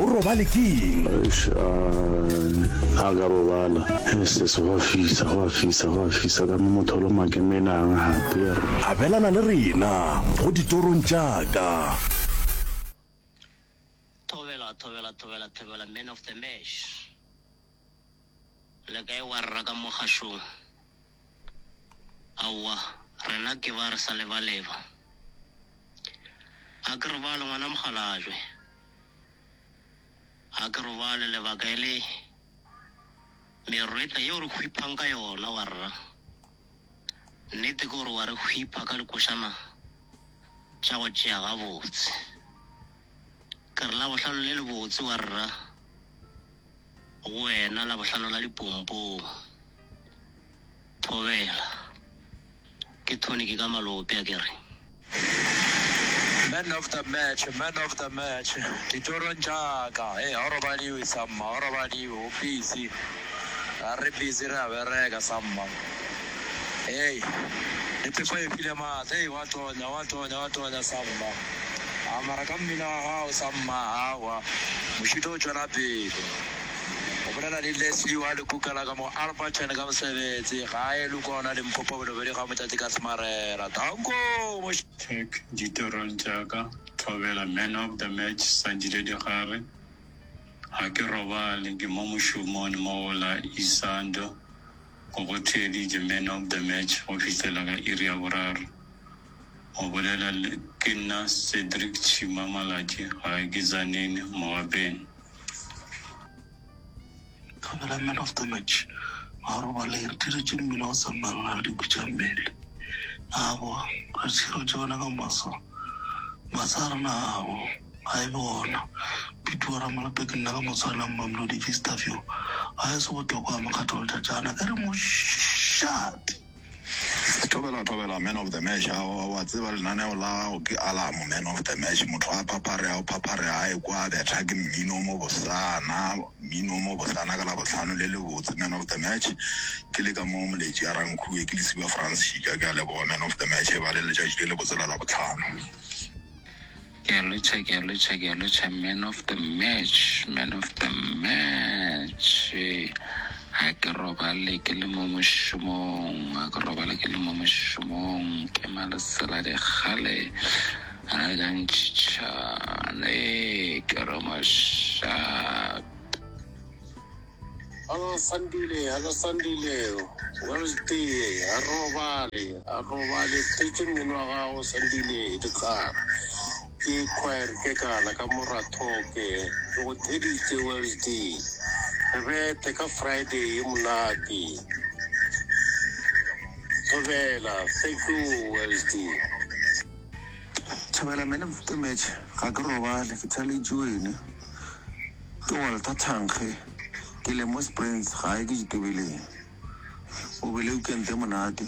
o robale keng? Eish, a a ka robala. Sis, go a fisa, go a fisa, go a fisa ka mo motho o loma ke menang gape. Yerr. Abelana le rena go ditorong tša ka. Thobela, thobela, thobela, thobela, man of the match. Le kae warra ka mo kgašong? Aowa, rena ke ba re sa lebaleba. A ke robale ngwana mokgalabje. A ke robale lebaka e le merwetla yeo re hwiphang ka yona warra. Nnete ke gore wa re hwipha ka dikošana tša go tšea gabotse. Ke re Labohlano le lebotse warra go wena, Labohlano la dipompong. Thobela. Ke tonic ka malope akere. Man of the match, man of the match, ditorong tša ka, hei ga o robadiwe samma, ga o robadiwe, o busy, ga re busy re a bereka samma, hei le phefo e file maatla, hei wa tonya, wa tonya, wa tonya samma, a mara ka mmino wa gago samma, aowa mošito o tšwela pele. O bolela le Leslie wa lekuka la ka mo Alberton ka mosebetsi gae Lukona Limpopo Bolobedu ga Motšatši ka Smarela. Danko! Moš. Check ditorong tša ka Thobela man of the match Sandile Digare Ga ke robale ke mo mošomong mo go la Isando go go theeditše man of the match go fihlela ka iri ya boraro Go bolela le ke nna Cedric Chima Malatji gae ke Tzaneen Mogapeng. Thobela man of the match ga robale re diretše mmila o sa mang ga re dikwi tša mmele abo re tšhiretše gona ka maso masa a rena abo ga e be gona pituwa ramalope ke nna ka motshwana mamelodi vistafio ga e se botlokwa mokgatho letšatšana ke re mošate. Thobela thobela man of the match a wa tseba lenaneo la gago ke alarm man of the match motho a phaphare a phaphare a ekwa a betha ke mmino o mo bosana mmino o mo bosana ka labohlano le lebotse man of the match ke le ka mo moletši a rankhuwe ke lesiba France Shika ke a leboga man of the match e ba le letšatši le lebotse la labohlano. Ke a lotšha, ke a lotšha, ke a lotšha, man of the match, man of the match. Ga ke robale ke le mo mošomong, ga ke robale ke le mo mošomong, ke malesela dikgale a ja ntšhitšhane, ke re mošate. Hello Sandile, hello Sandile, Wednesday, a robale, a robale, tletše mmino wa gago Sandile dikgara. Ke choir ke kana ka morathoke, ke go theditše Wednesday. Re bethe ka Friday e monate. Thobela, thank you Wednesday. Thobela man of the match ga ke robale ke thaletše wene. Ke Walter Thankge, ke le mo Springs, gae ke Ditobeleng. O bile weekend e monate.